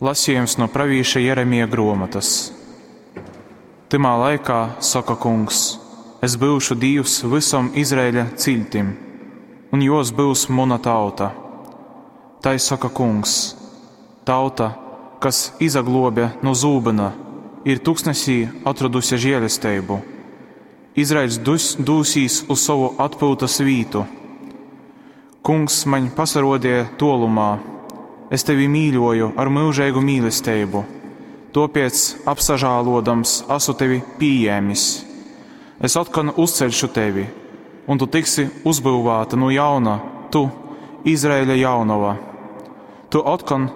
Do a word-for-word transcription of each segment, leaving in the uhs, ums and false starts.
Lasījums no pravīša Jeremija gruomotys. Tymā laikā, soka Kungs, es byušu Dīvs vysom Izraeļa ciļtim, un juos byus muna tauta. Tai soka Kungs: Tauta, kas izagluobja nu zūbyna, ir tuksnesī atroduse žielesteibu. Izraeļs dus, dūsīs uz sovu atpyutys vītu. Kungs maņ pasaruodeja tuolumā. Es tevi mīļoju ar myužeigu mīlesteibu, tuopiec apsažāluodams asu tevi pījēmis. Es otkon uzceļšu tevi, un tu tiksi uzbyuvāta nu jauna, tu, Izraeļa jaunova. Tu otkon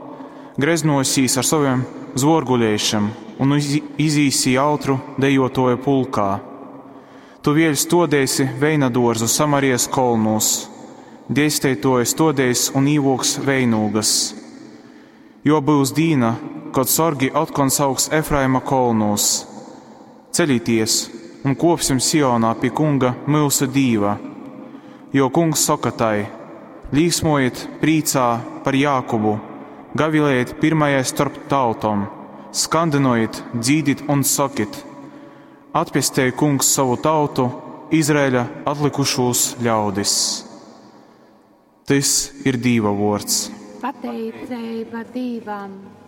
greznosīs ar sovim zvuorguleišim un izīsi jautru dejotuoju pulkā. Tu vēļ stuodeisi veinaduorzu Samarijas kolnūs, dēsteituoji stuodeis un īvuoks veinūgas. Jo byus dīna, kod sorgi otkon sauks Efraima kolnūs: Ceļieties un kuopsim Sionā pi Kunga myusu Dīva. Jo Kungs soka tai: Līsmojiet prīcā par Jākubu, gavilējiet pirmajai starp tautom, skandynojiet, dzīdit un sokit: Atpestej Kungs sovu tautu, Izraeļa atlikušūs ļaudis. Tys ir Dīva vuords. Pateiceiba Dīvam!